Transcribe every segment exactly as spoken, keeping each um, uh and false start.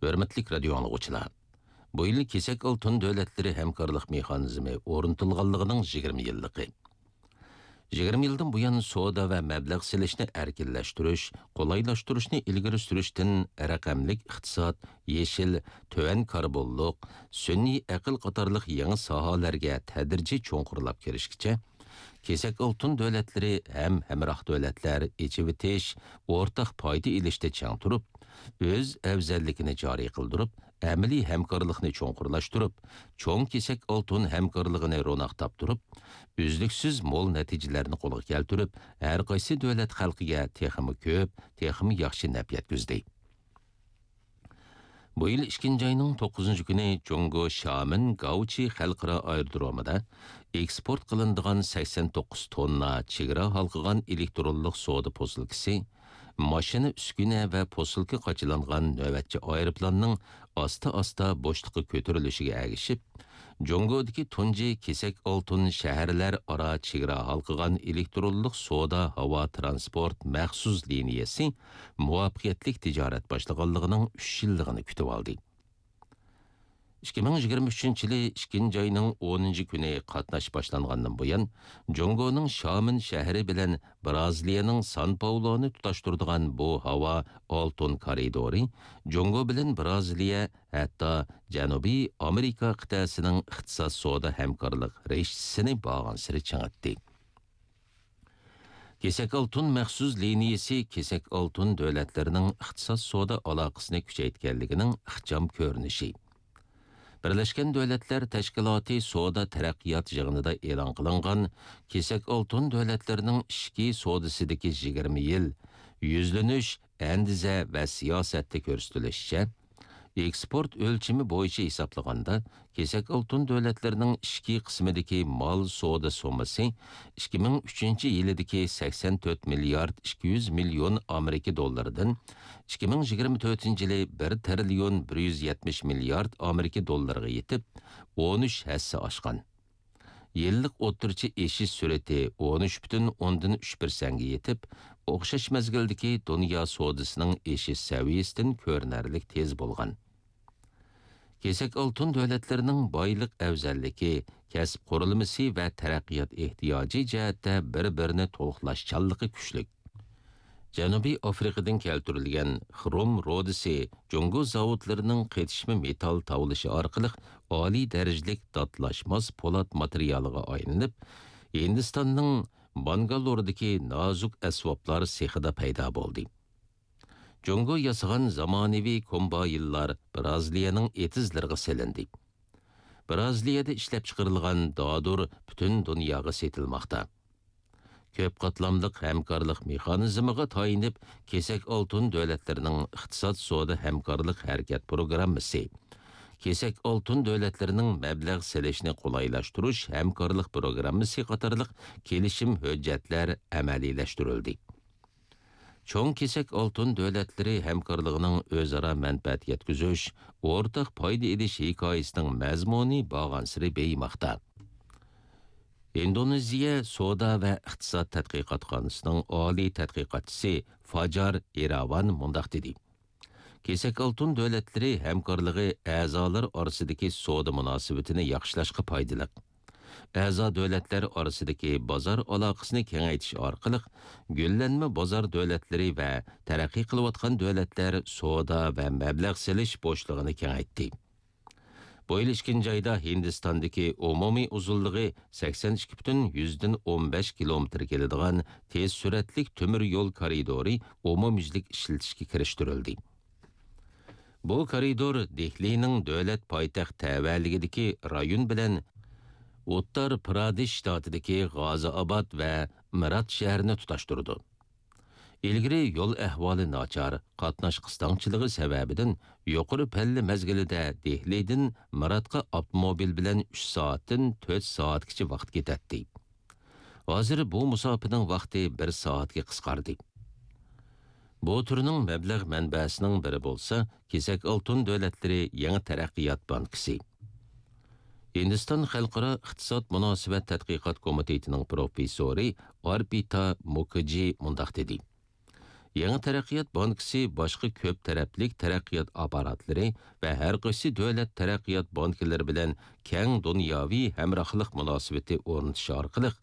ھۆرمەتلىك رادىيو ئاڭلىغۇچىلار! بۇ يىل كېسەك ئالتۇن دۆلەتلىرى ھەمكارلىق مېخانىزمى ئورنىتىلغانلىقىنىڭ يىگىرمە يىللىقى. يىگىرمە يىلدىن بۇيان سودا ۋە مەبلەغ سېلىشنى ئەركىنلەشتۈرۈش، قولايلاشتۇرۇشنى ئىلگىرى سۈرۈشتىن، رەقەملىك ئىقتىساد، يېشىل، تۆۋەن كاربونلۇق، سۈنئىي ئەقىل قاتارلىق يېڭى ساھەلەرگە تەدرىجىي چوڭقۇرلاپ كىرىشكىچە، كېسەك ئالتۇن دۆلەتلىرى ھەم ھەمراھ دۆلەتلەر ئېچىۋېتىش، ئورتاق پايدا ئېلىشتا چىڭ تۇرۇپ، ئۆز ئەۋزەللىكىنى جارى قىلدۇرۇپ، ئەمەلىي ھەمكارلىقنى چوڭقۇرلاشتۇرۇپ، چوڭ كېسەك ئالتۇن ھەمكارلىقىنى روناق تاپتۇرۇپ، ئۈزلۈكسىز مول نەتىجىلەرنى قولغا كەلتۈرۈپ، ھەر قايسى دۆلەت خەلقىگە تېخىمۇ كۆپ، تېخىمۇ ياخشى نەپ يەتكۈزدى. بۇ يىل ئىككىنچى ئاينىڭ توققۇزىنچى كۈنى جۇڭگو شامېن گاۋچى خەلقئارا ئايرودرومىدا ئېكسپورت قىلىنىدىغان سەكسەن توققۇز توننا چېگرا ھالقىغان ئېلېكترونلۇق سودا پوسۇلكىسى، ماشىنا، ئۈسكۈنە ۋە پوسۇلكا قاچىلانغان نۆۋەتچى ئايروپىلاننىڭ ئاستا-ئاستا بوشلۇققا كۆتۈرۈلۈشىگە ئەگىشىپ، جۇڭگودىكى تۇنجى كېسەك ئالتۇن شەھەرلەر ئارا چېگرا ھالقىغان ئېلېكترونلۇق سودا ھاۋا ترانسپورت مەخسۇس لىنىيەسى مۇۋەپپەقىيەتلىك تىجارەت باشلىغانلىقىنىڭ ئۈچ يىللىقىنى كۈتۈۋالدى. ئىككى مىڭ يىگىرمە ئۈچىنچى يىلى ئىككىنچى ئاينىڭ ئونىنچى كۈنى قاتناش باشلانغاندىن بۇيان، جۇڭگونىڭ شامېن شەھىرى بىلەن برازىلىيەنىڭ سان پاولونى تۇتاشتۇرىدىغان بۇ ھاۋا ئالتۇن كارىدورى جۇڭگو بىلەن برازىلىيە، ھەتتا جەنۇبىي ئامېرىكا قىتئەسىنىڭ ئىقتىساد سودا ھەمكارلىق رىشتىسىنى بارغانسېرى چىڭىتتى. كېسەك ئالتۇن مەخسۇس لىنىيىسى كېسەك ئالتۇن دۆلەتلىرىنىڭ ئىقتىساد سودا ئالاقىسىنى كۈچەيتكەنلىكىنىڭ ئىخچام كۆرۈنۈشى. بىرلەشكەن دۆلەتلەر تەشكىلاتى سودا تەرەققىيات يىغىنىدا ئېلان قىلىنغان كېسەك ئالتۇن دۆلەتلىرىنىڭ ئىچكى سودىسىدىكى يىگىرمە يىل يۈزلىنىش، ئەندىزە ۋە سىياسەتتە كۆرسىتىلىشىچە، ئېكسپورت ئۆلچىمى بويىچە ھېسابلىغاندا، كېسەك ئالتۇن دۆلەتلىرىنىڭ ئىچكى قىسمىدىكى مال سودا سوممىسى ئىككى مىڭ ئۈچىنچى يىلىدىكى سەكسەن تۆت مىليارد ئىككى يۈز مىليون ئامېرىكا دوللىرىدىن ئىككى مىڭ يىگىرمە تۆتىنچى يىلى بىر تىرىليون بىر يۈز يەتمىش مىليارد ئامېرىكا دوللىرىغا يېتىپ، ئون ئۈچ ھەسسە ئاشقان. يىللىق ئوتتۇرىچە ئېشىش سۈرئىتى ئون ئۈچ پۈتۈن ئوندىن ئۈچ پىرسەنتكە يېتىپ، ئوخشاش مەزگىلدىكى دۇنيا سودىسىنىڭ ئېشىش سەۋىيەسىدىن كۆرۈنەرلىك تېز بولغان. كېسەك ئالتۇن دۆلەتلىرىنىڭ بايلىق ئەۋزەللىكى، كەسىپ قۇرۇلمىسى ۋە تەرەققىيات ئېھتىياجى جەھەتتە بىر-بىرىنى تولۇقلاشچانلىقى كۈچلۈك. جەنۇبىي ئافرىقىدىن كەلتۈرۈلگەن خروم رۇدىسى جۇڭگو زاۋۇتلىرىنىڭ قېتىشما مېتال تاۋلىشى ئارقىلىق ئالىي دەرىجىلىك داتلاشماس پولات ماتېرىيالىغا ئايلىنىپ، ھىندىستاننىڭ بانگالوردىكى نازۇك ئەسۋابلار سېخىدا پەيدا بولدى. جۇڭگو ياسىغان زامانىۋى كومبايىنلار برازىلىيەنىڭ ئېتىزلىرىغا سېلىندى. برازىلىيەدە ئىشلەپچىقىرىلغان دادۇر پۈتۈن دۇنياغا سېتىلماقتا. كۆپ قاتلاملىق ھەمكارلىق مېخانىزمىغا تايىنىپ، كېسەك ئالتۇن دۆلەتلىرىنىڭ ئىقتىساد سودا ھەمكارلىق ھەرىكەت پروگراممىسى، كېسەك ئالتۇن دۆلەتلىرىنىڭ مەبلەغ سېلىشنى قولايلاشتۇرۇش ھەمكارلىق پروگراممىسى قاتارلىق كېلىشىم ھۆججەتلەر ئەمەلىيلەشتۈرۈلدى. چوڭ كېسەك ئالتۇن دۆلەتلىرى ھەمكارلىقىنىڭ ئۆزئارا مەنپەئەت يەتكۈزۈش، ئورتاق پايدا ئېلىش ھېكايىسىنىڭ مەزمۇنى بارغانسېرى بېيىماقتا. ئىندونېزىيە سودا ۋە ئىقتىساد تەتقىقاتخانىسىنىڭ ئالىي تەتقىقاتچىسى فاجار ئىراۋان مۇنداق دېدى: كېسەك ئالتۇن دۆلەتلىرى ھەمكارلىقى ئەزالار ئارىسىدىكى سودا مۇناسىۋىتىنى ياخشىلاشقا پايدىلىق. ئەزا دۆلەتلەر ئارىسىدىكى بازار ئالاقىسىنى كېڭەيتىش ئارقىلىق، گۈللەنمە بازار دۆلەتلىرى ۋە تەرەققىي قىلىۋاتقان دۆلەتلەر سودا ۋە مەبلەغ سېلىش بوشلۇقىنى كېڭەيتتى. بۇ يىل ئىككىنچى ئايدا ھىندىستاندىكى ئومۇمىي ئۇزۇنلۇقى سەكسەن ئىككى پۈتۈن يۈزدىن ئون بەش كىلومېتىر كېلىدىغان تېز سۈرئەتلىك تۆمۈر يول كارىدورى ئومۇميۈزلۈك ئىشلىتىشكە كىرىشتۈرۈلدى. بۇ كارىدور دېھلىنىڭ دۆلەت پايتەخت تەۋەلىكىدىكى رايون بىلەن ئۇتتار پرادېش شتاتىدىكى غازىئاباد ۋە مىرات شەھىرىنى تۇتاشتۇرىدۇ. ئىلگىرى يول ئەھۋالى ناچار، قاتناش قىستاڭچىلىقى سەۋەبىدىن يۇقىرى پەللە مەزگىلىدە دېھلىدىن مىراتقا ئاپتوموبىل بىلەن ئۈچ سائەتتىن تۆت سائەتكىچە ۋاقىت كېتەتتى. ھازىر بۇ مۇساپىنىڭ ۋاقتى بىر سائەتكە قىسقاردى. بۇ تۈرنىڭ مەبلەغ مەنبەسىنىڭ بىرى بولسا، كېسەك ئالتۇن دۆلەتلىرى يېڭى تەرەققىيات بانكىسى. ھىندىستان خەلقئارا ئىقتىساد مۇناسىۋەت تەتقىقات كومىتېتىنىڭ پروفېسسورى ئارپىتا مۇكىجى مۇنداق دېدى: يېڭى تەرەققىيات بانكىسى باشقا كۆپ تەرەپلىك تەرەققىيات ئاپپاراتلىرى ۋە ھەر قايسى دۆلەت تەرەققىيات بانكىلىرى بىلەن كەڭ دۇنياۋى ھەمراھلىق مۇناسىۋىتى ئورنىتىش ئارقىلىق،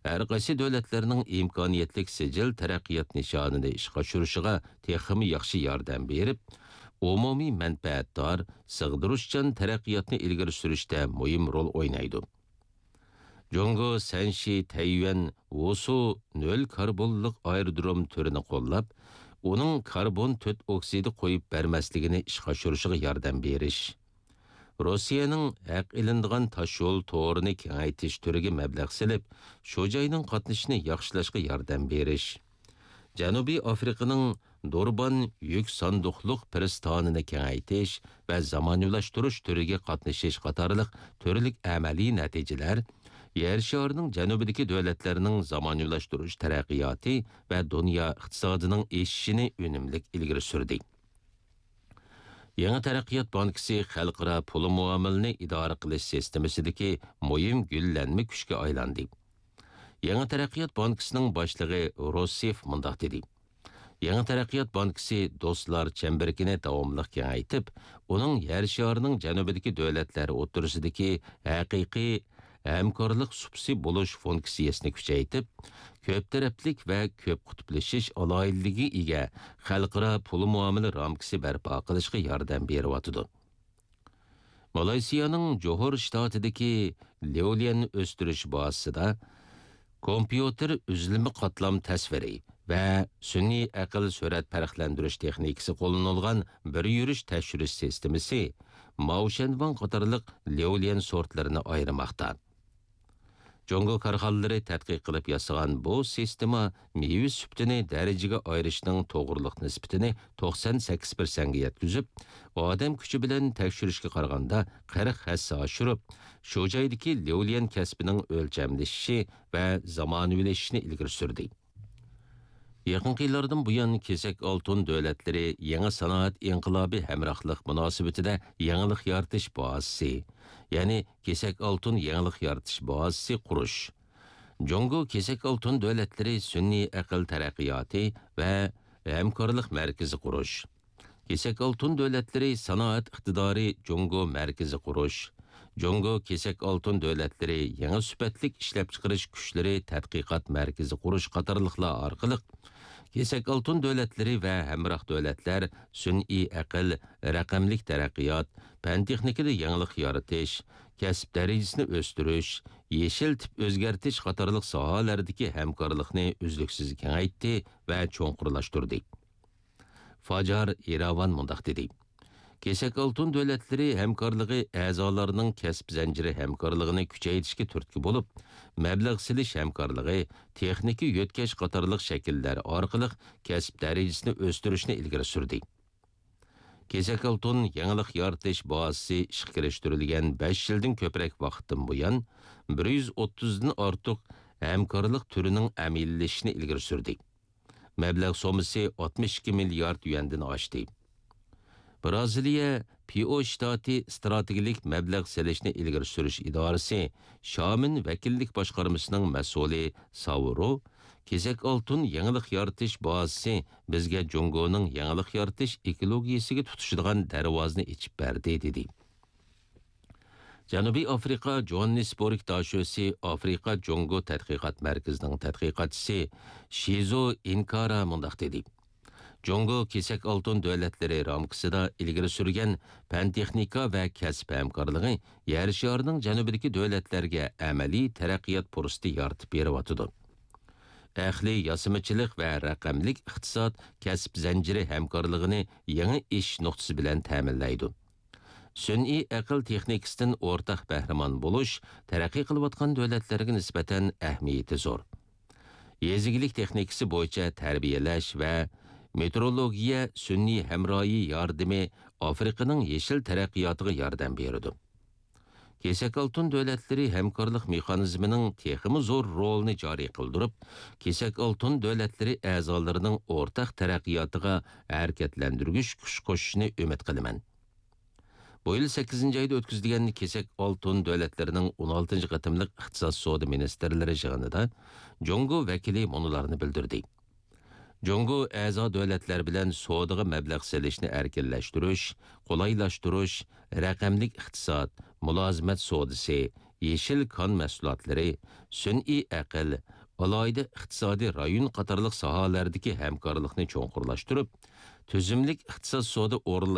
ھەر قايسى دۆلەتلەرنىڭ ئىمكانىيەتلىك سىجىل تەرەققىيات نىشانىنى ئىشقا ئاشۇرۇشىغا تېخىمۇ ياخشى ياردەم بېرىپ، ئومۇمىي مەنپەئەتدار، سىغدۇرۇشچان تەرەققىياتنى ئىلگىرى سۈرۈشتە مۇھىم رول ئوينايدۇ. جۇڭگو سەنشى تەييۈەن ۋۇسۇ نۆل كاربونلۇق ئايرودروم تۈرىنى قوللاپ، ئۇنىڭ كاربون تۆت ئوكسىدى قويۇپ بەرمەسلىكىنى ئىشقا ئاشۇرۇشىغا ياردەم بېرىش. روسىيەنىڭ ھەق ئېلىنىدىغان تاشيول تورىنى كېڭەيتىش تۈرىگە مەبلەغ سېلىپ، شۇ جاينىڭ قاتنىشىنى ياخشىلاشقا ياردەم بېرىش. جەنۇبىي ئافرىقىنىڭ دۇربان يۈك ساندۇقلۇق پىرىستانىنى كېڭەيتىش ۋە زامانىۋىلاشتۇرۇش تۈرىگە قاتنىشىش قاتارلىق تۈرلۈك ئەمەلىي نەتىجىلەر يەر شارىنىڭ جەنۇبىدىكى دۆلەتلەرنىڭ زامانىۋىلاشتۇرۇش تەرەققىياتى ۋە دۇنيا ئىقتىسادىنىڭ ئېشىشىنى ئۈنۈملۈك ئىلگىرى سۈردى. يېڭى تەرەققىيات بانكىسى خەلقئارا پۇل مۇئامىلىنى ئىدارە قىلىش سىستېمىسىدىكى مۇھىم گۈللەنمە كۈچكە ئايلاندى. يېڭى تەرەققىيات بانكىسىنىڭ باشلىقى روسىف مۇنداق دېدى: يېڭى تەرەققىيات بانكىسى دوستلار چەمبىرىكىنى داۋاملىق كېڭەيتىپ، ئۇنىڭ يەر شارىنىڭ جەنۇبىدىكى دۆلەتلەر ئوتتۇرىسىدىكى ھەقىقىي ھەمكارلىق سۇپىسى بولۇش فۇنكسىيەسىنى كۈچەيتىپ، كۆپ تەرەپلىك ۋە كۆپ قۇتۇپلىشىش ئالاھىدىلىكىگە ئىگە خەلقئارا پۇل مۇئامىلە رامكىسى بەرپا قىلىشقا ياردەم بېرىۋاتىدۇ. مالايسىيانىڭ جوھور شتاتىدىكى ليۇليەن ئۆستۈرۈش بازىسىدا كومپيۇتېر ئۈزۈلمە قاتلام تەسۋىرى ۋە سۈنئىي ئەقىل سۈرەت پەرقلەندۈرۈش تېخنىكىسى قوللىنىلغان بىر يۈرۈش تەكشۈرۈش سىستېمىسى ماۋشەنۋاڭ قاتارلىق ليۇليەن سورتلىرىنى ئايرىماقتا. جۇڭگو كارخانىلىرى تەتقىق قىلىپ ياسىغان بۇ سىستېما مېۋە سۈپىتىنى دەرىجىگە ئايرىشنىڭ توغرىلىق نىسبىتىنى توقسان سەككىز پىرسەنتكە يەتكۈزۈپ، ئادەم كۈچى بىلەن تەكشۈرۈشكە قارىغاندا قىرىق ھەسسە ئاشۇرۇپ، شۇ جايدىكى ليۇليەن كەسپىنىڭ ئۆلچەملىشىشى ۋە زامانىۋىلىشىشىنى ئىلگىرى سۈردى. يېقىنقى يىللاردىن بۇيان، كېسەك ئالتۇن دۆلەتلىرى يېڭى سانائەت ئىنقىلابى ھەمراھلىق مۇناسىۋىتىدە يېڭىلىق يارىتىش بازىسى، يەنى كېسەك ئالتۇن يېڭىلىق يارىتىش بازىسى قۇرۇش، جۇڭگو كېسەك ئالتۇن دۆلەتلىرى سۈنئىي ئەقىل تەرەققىياتى ۋە ھەمكارلىق مەركىزى قۇرۇش، كېسەك ئالتۇن دۆلەتلىرى سانائەت ئىقتىدارى جۇڭگو مەركىزى قۇرۇش، جۇڭگو كېسەك ئالتۇن دۆلەتلىرى يېڭى سۈپەتلىك ئىشلەپچىقىرىش كۈچلىرى تەتقىقات مەركىزى قۇرۇش قاتارلىقلار ئارقىلىق، كېسەك ئالتۇن دۆلەتلىرى ۋە ھەمراھ دۆلەتلەر سۈنئىي ئەقىل، رەقەملىك تەرەققىيات، پەن-تېخنىكىدا يېڭىلىق يارىتىش، كەسىپ دەرىجىسىنى ئۆستۈرۈش، يېشىل تىپ ئۆزگەرتىش قاتارلىق ساھەلەردىكى ھەمكارلىقنى ئۈزلۈكسىز كېڭەيتتى ۋە چوڭقۇرلاشتۇردى. فاجار ئىراۋان مۇنداق دېدى: كېسەك ئالتۇن دۆلەتلىرى ھەمكارلىقى ئەزالارنىڭ كەسىپ زەنجىرى ھەمكارلىقىنى كۈچەيتىشكە تۈرتكە بولۇپ، مەبلەغ سېلىش ھەمكارلىقى، تېخنىكا يۆتكەش قاتارلىق شەكىللەر ئارقىلىق كەسىپ دەرىجىسىنى ئۆستۈرۈشنى ئىلگىرى سۈردى. كېسەك ئالتۇن يېڭىلىق يارىتىش بازىسى ئىشقا كىرىشتۈرۈلگەن بەش يىلدىن كۆپرەك ۋاقىتتىن بۇيان، بىر يۈز ئوتتۇزدىن ئارتۇق ھەمكارلىق تۈرىنىڭ ئەمەلىيلىشىشىنى ئىلگىرى سۈردى. مەبلەغ سوممىسى ئاتمىش ئىككى مىليارد يۈەندىن ئاشتى. بىرازىلىيە پىئو شتاتى ئىستراتېگىيەلىك مەبلەغ سېلىشنى ئىلگىرى سۈرۈش ئىدارىسى شامىن ۋەكىللىك باشقارمىسىنىڭ مەسئۇلى ساۋرو، كېسەك ئالتۇن يېڭىلىق يارىتىش بازىسى بىزگە جۇڭگونىڭ يېڭىلىق يارىتىش ئېكولوگىيەسىگە تۇتىشىدىغان دەرۋازىنى ئېچىپ بەردى، دېدى. جەنۇبىي ئافرىقا جوھاننېسبورگ داشۆسى ئافرىقا جۇڭگو تەتقىقات مەركىزىنىڭ تەتقىقاتچىسى شىزو ئىنكارا مۇنداق دېدى: جۇڭگو كېسەك ئالتۇن دۆلەتلىرى رامكىسىدا ئىلگىرى سۈرگەن پەن-تېخنىكا ۋە كەسىپ ھەمكارلىقى يەر شارىنىڭ جەنۇبىدىكى دۆلەتلەرگە ئەمەلىي تەرەققىيات پۇرسىتى يارىتىپ بېرىۋاتىدۇ. ئەقلىي ياسىمىچىلىق ۋە رەقەملىك ئىقتىساد كەسىپ زەنجىرى ھەمكارلىقىنى يېڭى ئېشىش نۇقتىسى بىلەن تەمىنلەيدۇ. سۈنئىي ئەقىل تېخنىكىسىدىن ئورتاق بەھرىمەن بولۇش تەرەققىي قىلىۋاتقان دۆلەتلەرگە نىسبەتەن ئەھمىيىتى زور. يېزا ئىگىلىك تېخنىكىسى بويىچە تەربىيەلەش ۋە مېتېئورولوگىيە سۈنئىي ھەمراھى ياردىمى ئافرىقىنىڭ يېشىل تەرەققىياتىغا ياردەم بېرىدۇ. كېسەك ئالتۇن دۆلەتلىرى ھەمكارلىق مېخانىزمىنىڭ تېخىمۇ زور رولىنى جارى قىلدۇرۇپ، كېسەك ئالتۇن دۆلەتلىرى ئەزالىرىنىڭ ئورتاق تەرەققىياتىغا ھەرىكەتلەندۈرگۈچ كۈچ قوشۇشىنى ئۈمىد قىلىمەن. بۇ يىل سەككىزىنچى ئايدا ئۆتكۈزۈلگەن كېسەك ئالتۇن دۆلەتلىرىنىڭ ئون ئالتىنچى قېتىملىق ئىقتىساد سودا مىنىستىرلىرى يىغىنىدا جۇڭگو ۋەكىلى مۇنۇلارنى بىلدۈردى: جۇڭگو ئەزا دۆلەتلەر بىلەن سودىغا مەبلەغ سېلىشنى ئەركىنلەشتۈرۈش، قولايلاشتۇرۇش، رەقەملىك ئىقتىساد، مۇلازىمەت سودىسى، يېشىل كان مەھسۇلاتلىرى، سۈنئىي ئەقىل، ئالاھىدە ئىقتىسادىي رايون قاتارلىق ساھەلەردىكى ھەمكارلىقنى چوڭقۇرلاشتۇرۇپ، تۈزۈملۈك ئىقتىساد سودا ئورۇنلىرى